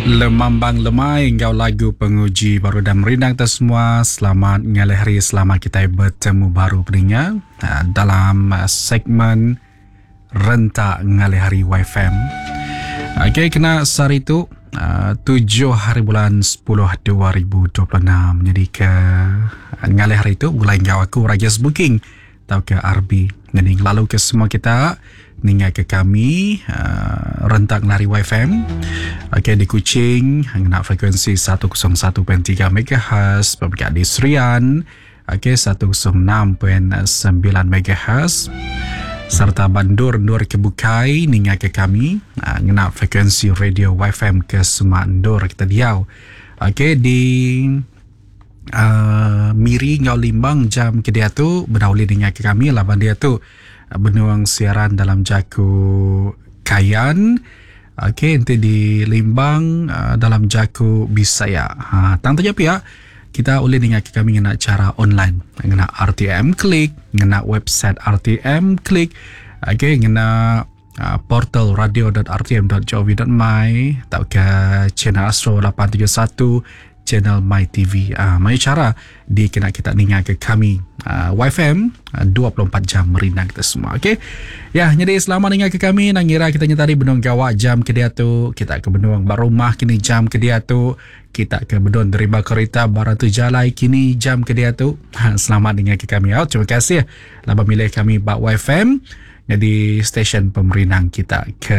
Lemambang Lemai enggau lagu Penguji baru udah merindang kita semua. Selamat ngalih hari, selamat kitai betemu baru peninga ah, dalam ah, segmen Rentak Ngalih Hari YFM. Okey, kena sehari tu ah, 7 hari bulan 10 2026. Jadi ke ngalih hari tu begulai enggau aku Rajes Booking tauka RB. Jadi ngelalu ke semua kita ninga ke kami uh, rentak lari YFM. Okey di Kuching ngena frekuensi 101.3 MHz, berpikir di Serian okey 106.9 MHz serta bandur ndur ke bukai ninga ke kami uh, ngena frekuensi radio YFM ke semua ndur kita diau. Okey di Uh, Miri enggau Limbang jam ke diatu bedau ulih ninga ke kami laban diatu benung siaran dalam jaku Kayan. Okey enti di Limbang uh, dalam jaku Bisaya. Ha tang taja pia kita ulih ninga ke kami ngena cara online ngena RTM Klik, ngena website RTM Klik. Okey ngena uh, portal radio.rtm.gov.my tauka channel Astro 871 channel My TV. Uh, mayuh cara dikena kita ninga ke kami uh, YFM uh, 24 jam merindang kita semua. Okey. Ya, jadi selamat ninga ke kami nang ngira kita nyata tadi benung gawa jam ke dia tu, kita ke benung ba rumah kini jam ke dia tu, kita ke benung deriba kereta barang tu jalai kini jam ke dia tu. Ha, selamat ninga ke kami. Oh, terima kasih laban milih kami ba YFM. Nyadi stesen pemerindang kita ke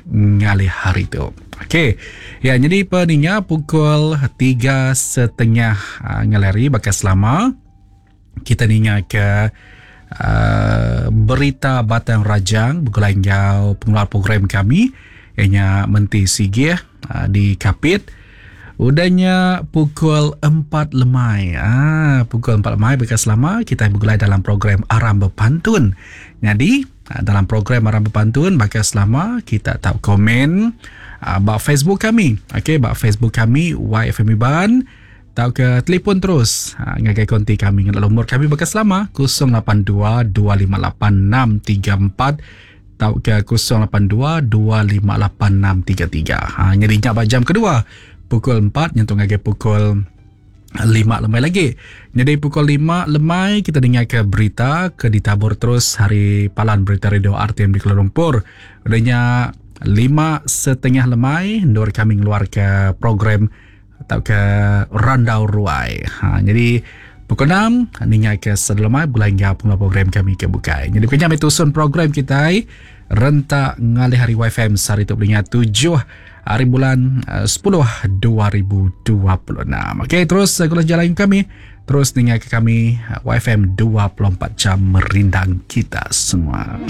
ngalih hari tu. Okey. Ya, nyadi peninga pukul 3.30 ah, ngalih hari baka selama kita ninga ke uh, berita Batang Rajang begulai enggau pengeluar program kami ianya Menti Sigih uh, di Kapit. Udah nya pukul 4 lemai. Ah, pukul 4 lemai baka selama kita begulai dalam program Aram Bepantun. Nyadi, ah, dalam program Aram Bepantun baka selama kita tau komen ah, ba Facebook kami. Okey, ba Facebook kami YFM Iban tauka telefon terus ah, ngagai konti kami ngena lumur kami baka selama 082 258 634 tauka 082 258 633. Ha, nyadi nya ba jam kedua pukul 4 nyentuk ngagai pukul 5 lemai lagi. Nyadi pukul 5 lemai kita dengar ke berita ke ditabur terus hari palan berita radio RTM di Kuala Lumpur. Udah nya 5.30 lemai endur kami ngeluar ke program tauka randau ruai. Ha, jadi pukul 6 ninga ke sedelemai begulai enggau pengeluar program kami ke bukai. Jadi bukan nyamai tusun program kita rentak ngalih hari YFM sehari tu beringat 7 hari bulan 10 2026. Okey, terus eh, gula jalan kami terus ninga ke kami eh, YFM 24 jam merindang kita semua.